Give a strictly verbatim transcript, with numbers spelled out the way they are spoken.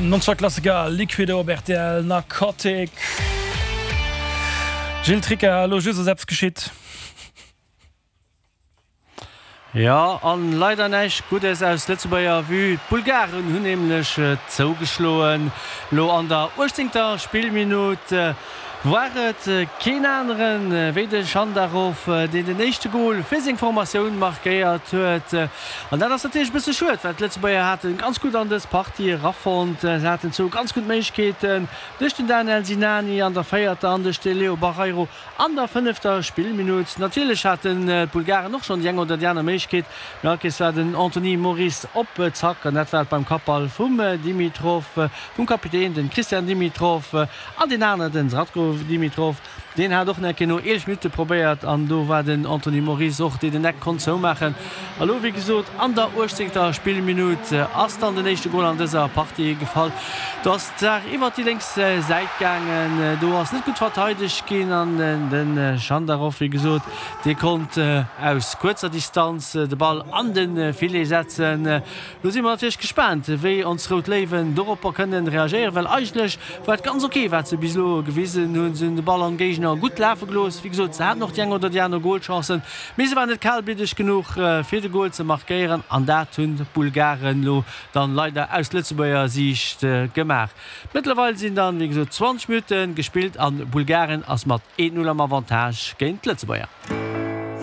Nonstop-Klassiker Liquido op rtl, Narcotic. Gilles Tricca, elo just ass eppes geschitt. Jo, an leider näischt Guddes aus Lëtzebuerger Vue. D'Bulgaren hunn nämlech zougeschloen. Lo an der uechtzéngter Spillminutt war et keen aneren wéi de Schandarov, deen den éischte Gol fir seng Formatioun markéiert huet. An dat ass natierlech e bësse schued, well d'Lëtzebuerger hate ganz gutt an dës Partie erafonnt. Se haten zwou ganz gutt Méiglechkeeten duerch den Daniel Sinani an der véierter an duerch de Leo Barreiro An der fënnefter Spillminutt, natierlech haten d'Bulgaren och schonn déi eng oder déi aner Méiglechkeet, mee all Kees war den Anthony Moris op Zack an dat war et beim Kappball vum Dimitrov, vum Kapitän, den Christian Dimitrov an deen aneren, den Zratko Dimitrov, deen hat och nach eng Kéier no eelef Minutte probéiert an do war den Anthony Moris och, deen den Eck konnt zoumaachen. A lo, wéi gesot, an der uechtzéngter Spillminutt ass dann den éischte Gol an dëser Partie gefall. Do ass d'Saach iwwert déi lénks Säit gaangen, do ass net gutt verteidegt ginn an den Schandarov, wéi gesot, dee konnt aus kuerzer Distanz de Ball an de Filet setzen. Lo si mer natierlech gespaant, wéi ons Rout Léiwen doropper kënnen reagéieren, well eigentlech war et ganz ok, wat se bis elo gewisen hunn. Se hunn de Ball am Géigner gutt lafe gelooss. Wéi gesot, se haten och déi eng oder déi aner Golchancen, mee se waren net kalbliddeg genuch, fir de Gol ze markéieren an dat hunn d'Bulgaren elo dann leider aus Lëtzebuerger Siicht gemaach. Mëttlerweil sinn dann, wéi gesot, zwanzeg Minutte gespillt an Bulgarien ass mat een Null am Avantage géint d'Lëtzebuerger.